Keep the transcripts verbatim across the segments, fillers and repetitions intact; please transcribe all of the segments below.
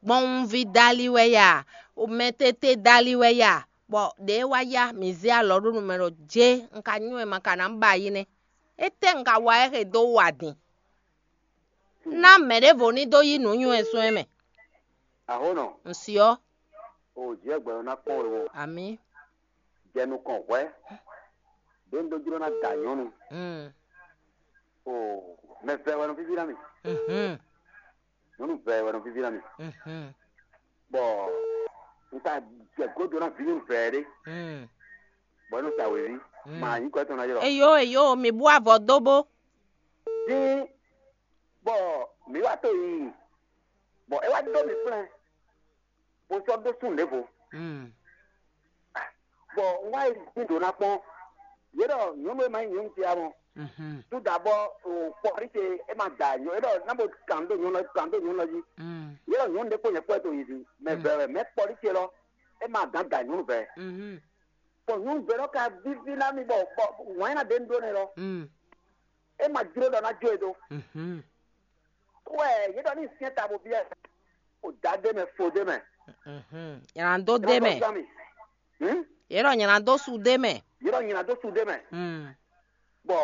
gbɔnwunví dali wɛ ya, mɛtete dali wɛ ya, bɔ ɖě wá ya mǐ zé alɔ ɖó nu mɛ ɖɔ jé un ka nywɛ́ ma ka ná ba yi nɛ́. Étɛ́ un ka wa ɛ xe dó wa din? Ná mɛ ɖěvo ní dó yí nǔ nywɛ́ sɔ́ ɛ mɛ. Ahónɔ, Un syɔ́. O jǐ wɛ gbɛɖɔ ná kpɔ́n we wɔ. Amǐ. Jɛ nukɔn hwɛ̌. Ɖě un ɖó jló ná da nyɔ̌nu. Mm. O mɛ vɛ wɛ nɔ víví ná mì. Mhm. Nyɔ̌nu vɛ wɛ nɔ víví ná mì. Mhm. Bɔ un ka jɛ gǒdo ná vǐ nyɔ̌nu vɛ ɖé. Mm. Bɔ é nɔ sa wěví. Mm. Ma nyǐkɔ tɔn ná ylɔ. Eyo eyo, mi bú avɔ dó bó. Dín bɔ mǐ wá to yiyi. Bɔ é wá ɖó mǐ kplɛ́n. Bó sɔ́ ɖó sún ɖěvo. Mm. Bɔ un wá yi dín ɖǒ ná kpɔ́n. Yě ɖɔ nyɔ̌nu e ma nyí nyɔ̌nu ce ǎ mɔ. Mhm. Súdabɔ kpɔ́rí ce é ma da nyɔ̌ é ɖɔ ná bo kan ɖó nyɔ̌nu kan ɖó nyɔ̌nu jí. Mm. Yě ɖɔ nyɔ̌nu ɖé kpó nyɛ kpɔ́ to yi zi mɛ vɛ wɛ mɛ kpɔ́rí ce lɔ é ma gán da nyɔ̌nu vɛ. Mhm. Bɔ nyɔ̌nu vɛ lɔ ka víví ná mì bɔ bɔ wǎn ná ɖe nu ɖó nɛ lɔ. Mm. É ma jló ɖɔ ná jó e dó. Mhm. Wɛ yě ɖɔ ní syɛ́n ta bo byɔ́ ɛ. O dǎ ɖé mɛ fo ɖé mɛ. Mhm. Nyla dó ɖé mɛ. Zán mi. Hmm? Yě ɖɔ nyla dó su ɖé mɛ. Yě ɖɔ nyla dó su ɖé mɛ. Mm. Bɔ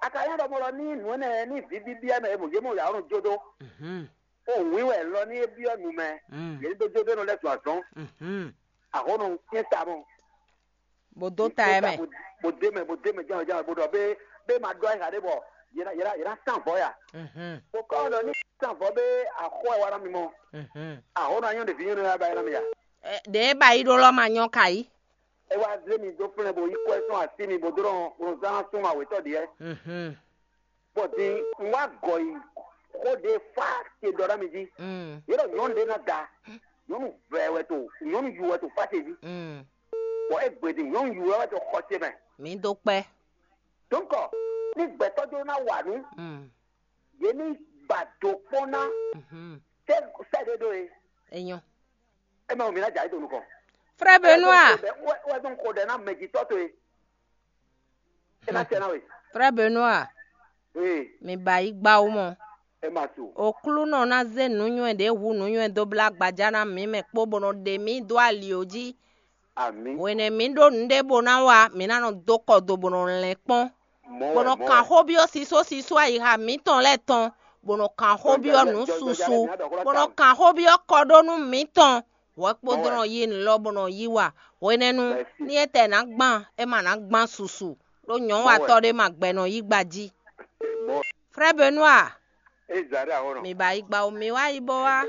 a ka nyɔ́ ɖɔ mɔ lɔ ní nǔ énɛ́ ní vǐ bíbí ɛ mɛ e mɔ yě mɔ yǎ nɔ jó dó. Mhm. O wǐ wɛ lɔ ní é byɔ́ nu mɛ. Mm. Yě ní dó jó dó nɔ lɛ́ zun azɔn. Mhm. Ahɔnɔ syɛ́n ta mɔ. Bó dó ta ɛ mɛ. Bó dé mɛ bó dé mɛ jɛ́n jɛ́n bó ɖɔ bé bé ma ɖɔ ayǐ ɖé bɔ yě ná yě ná yě ná sán vɔ̌ ya. Mhm. Bó kɔ ɖɔ ní sán vɔ̌ bé axɔ ɛ wa ná mi mɔ. Mhm. Ahɔnɔ anyɔ ɖevi nyɔ́ nɔ ya ba yɛ ná mi ya. Ɛ, ɖě e ba yi ɖó lɔ ma nyɔ́ ka yí. É wá zé mi dó flɛ́n bó yí kɔ ɛ sɔ́n así mi bó dó ɖɔ zán sún ma wětɔ́ ɖiɛ. Mhm. Bɔ din un wá gɔ yi xó ɖé fá ce ɖɔ ná mi jí. Mm. Yě ɖɔ nyɔ̌nu ɖé ná da nyɔ̌nu vɛ wɛ to nyɔ̌nu yu wɛ to fá ce jí. Mm. Bɔ é gbe din nyɔ̌nu yu wɛ wɛ to xɔ ce mɛ. Mi dó kpɛ. Donc ní gbɛtɔ́ jló ná wa nǔ. Mm. Yě ní ba do kpɔ́n ná. Mhm. Sɛ sɛ ɖé ɖó e. Enyo. É mɛ wo mi ná jà é do nukɔn. Frère Benoît. Wɛ wɛ dɔn ko ɖɛ ná mɛjitɔ́ to e. É ná sɛ ná we. Frère Benoît. Ee. Mi ba yi gba wo mɔ. É ma su. Oklúnɔ ná zé nǔnywɛ́ ɖě hu nǔnywɛ́ dó blá gbaja ná mǐ mɛ kpó bó nɔ ɖe mǐ dó ali jí. Amǐ. Hwenɛ́ mǐ ɖó nǔɖé bó ná wa, mǐ ná nɔ dó kɔ do bó nɔ lɛn kpɔ́n. Mɔ̌ bó wɛ, nɔ mɔ̌ kan wɛ. Xó byɔ́ sísó sísó ayixa mǐtɔn lɛ́ɛ tɔn, bó nɔ kan xó byɔ́ nǔ susu, bó nɔ kan xó byɔ́ kɔɖónú mǐtɔn. Hwɛ kpódó nɔ yí nǔ lɔ bó nɔ yí wa. Hwenɛ́nu ní étɛ́ ná gbán, é ma ná gbán susu, ɖó nyɔ̌watɔ́ ɖé ma gbɛ nɔ yí gba jí. Frère Benoît, mi ba yi gba o, mi wá yi bó wá.